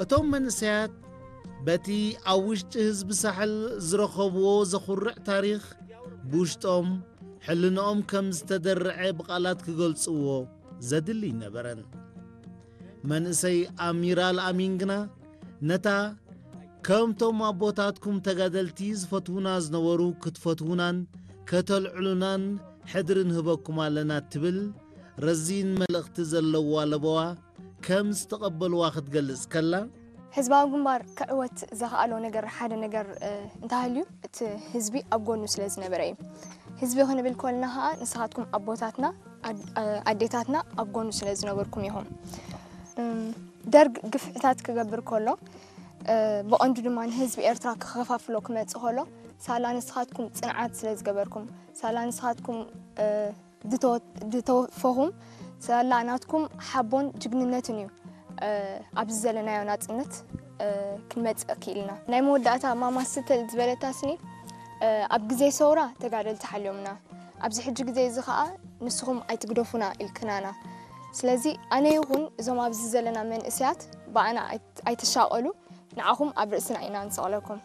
እቶም መንእሰያት በቲ ኣብ ውሽጢ ህዝቢ ሳሕል ዝረኸብዎ ዘኹርዕ ታሪኽ፣ ብውሽጦም ሕልንኦም ከም ዝተደርዐ ብቓላት ክገልጽዎ ዘድሊ ኣይነበረን። መንእሰይ ኣሚር ኣልኣሚን ግና ነታ ከምቶም ኣቦታትኩም ተጋደልቲ ዝፈትዉና ዝነበሩ ክትፈትዉናን ከተልዕሉናን ሕድሪ ንህበኩም ኣለና ትብል ረዚን መልእኽቲ ዘለዋ ለበዋ ከም ዝተቐበልዋ ክትገልጽ ከላ፣ ህዝባዊ ግንባር ክዕወት ዘኽኣሎ ነገር ሓደ ነገር እንተሃልዩ እቲ ህዝቢ ኣብ ጎኑ ስለ ዝነበረ እዩ። ህዝቢ ክንብል ኮልና ከዓ ንስኻትኩም ኣቦታትና ኣዴታትና ኣብ ጎኑ ስለ ዝነበርኩም ኢኹም። ደርግ ግፍዕታት ክገብር ከሎ ብቐንዱ ድማ ንህዝቢ ኤርትራ ክኸፋፍሎ ክመጽእ ከሎ ሳላ ንስኻትኩም ጽንዓት ስለ ዝገበርኩም ሳላ ንስኻትኩም ዝተወፈኹም ሳላ ናትኩም ሓቦን ጅግንነትን እዩ ኣብዚ ዘለናዮ ናጽነት ክንመጽእ ክኢልና። ናይ መወዳእታ ማማ ስትል ዝበለታስኒ ኣብ ግዜ ሰውራ ተጋደልቲ ሓልዮምና ኣብዚ ሕጂ ግዜ እዚ ኸኣ ንስኹም ኣይትግደፉና ኢልክናና። ስለዚ ኣነ ይኹን እዞም ኣብዚ ዘለና መንእሰያት ብኣና ኣይትሻቐሉ ንዓኹም ኣብ ርእስና ኢና ንሰቕለኩም።